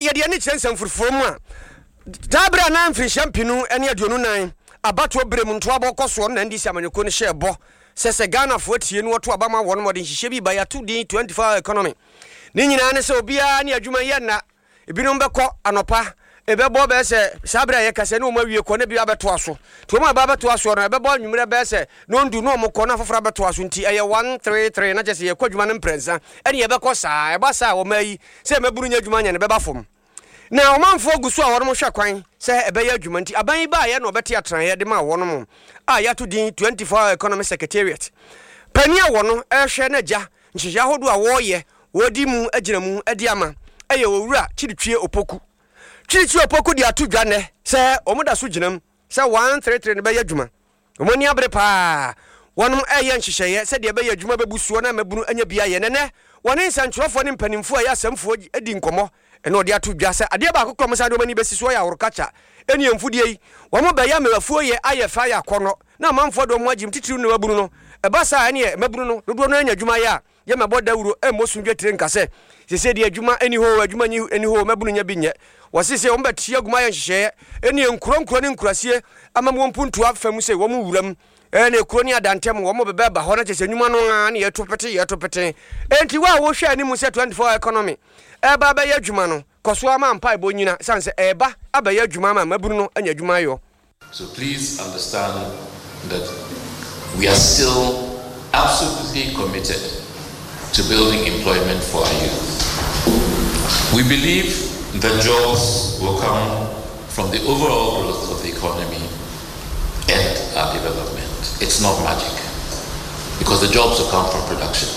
Yɛde ani kyerɛ nsɛmfurufuro mu a, saa berɛ a na mfirinhyia 2024 abatoɔ berɛ mu ntoabɔ kɔ soɔ no na NDC amanyɔkuo no hyɛɛ bɔ sɛ sɛ Ghanafoɔ tie no wɔto aba ma wɔn ma wɔde nhyehyɛ bi ba yɛato din 24 hour economy. Ne nyinaa ne sɛ obiara ne adwuma yɛ nna. Ebinom bɛkɔ anɔpa, ɛbɛbɔ bɛyɛ sɛ saa berɛ a yɛkasa yi na wɔn awie kɔ na bi abɛtoa so. Nti wɔn a ɛba abɛtoa soɔ no ɛbɛbɔ anwummerɛ bɛyɛ sɛ nɔndu na wɔn kɔ na afoforɔ abɛtoa so nti ɛyɛ one, three, three na kyerɛ sɛ yɛkɔ adwuma no mprɛnsa ɛne yɛbɛkɔ saa. Ɛba saa a wɔn ayi sɛ mmabunu nyɛ adwuma nyɛ no bɛba fam. Na ɔmanfoɔ gu so a wɔnom hwɛ kwan sɛ ɛbɛyɛ adwuma nti aban yi baeɛ na ɔbɛte atenaeɛ de maa wɔnom a yɛato din 24 Hour Economy Secretariat. Panin a wɔno rehwɛ na gya nhyehyɛe ahodoɔ a wɔreyɛ wɔredi mu agyina mu de ama yɛ Owura Kyiritwie Opoku. Kyiritwie Opoku de ato dwa nnɛ sɛ wɔn da so gyina mu sɛ 133 no bɛyɛ adwuma. Wɔn ani abere paa. Wɔnom reyɛ nhyehyɛeɛ sɛdeɛ ɛbɛyɛ adwuma bɛbu soɔ na mmabunu anya bi ayɛ. Na ɛnnɛ wɔne nsɛntwerɛfoɔ ne mpanimfoɔ a ɛyɛ asɛmfoɔ di nkɔmmɔ na wɔde ato dwa sɛ adeɛ baako korɔ wɔsan de wɔn ani bɛsi soɔ yɛ ahorokakya ne mfudeɛ yi. Wɔn bɛyɛ ama afuo yɛ ayɛ fɛ ayɛ akɔnnɔ na amanfoɔ de wɔn ho agyem titiriw ne mmabunu no. Ɛba saa a ɛneɛ mmabunu no dodoɔ no ara nya adwuma yɛ a Yɛmmɛbɔ dawuro mmɔ so dwetire nka sɛ, Seesei deɛ adwuma nni hɔ oo, adwuma nni hɔ oo, mmabunu nya bi nyɛ. Wɔse sɛ wɔbɛte agu mu ayɛ nhyehyɛeɛ ne nkuro nkuro ne nkurasie ama mu mpuntuo afa mu sɛ wɔn wuram ne kuro ne adantam wɔn bɛbɛ ba hɔ na kyerɛ sɛ nnwuma no ara ne yɛto pete yɛto pete. Enti wo a wohwɛ anim sɛ 24 hour economy ɛreba abɛyɛ adwuma no, kɔ so ara ma mpaebɔ nnyina ɛsiane sɛ ɛreba abɛyɛ adwuma ama mmabunu no anya adwuma ayɔ. So please understand that we are still absolutely committed to building employment for our youth. We believe that jobs will come from the overall growth of the economy and our development. It's not magic because the jobs will come from production.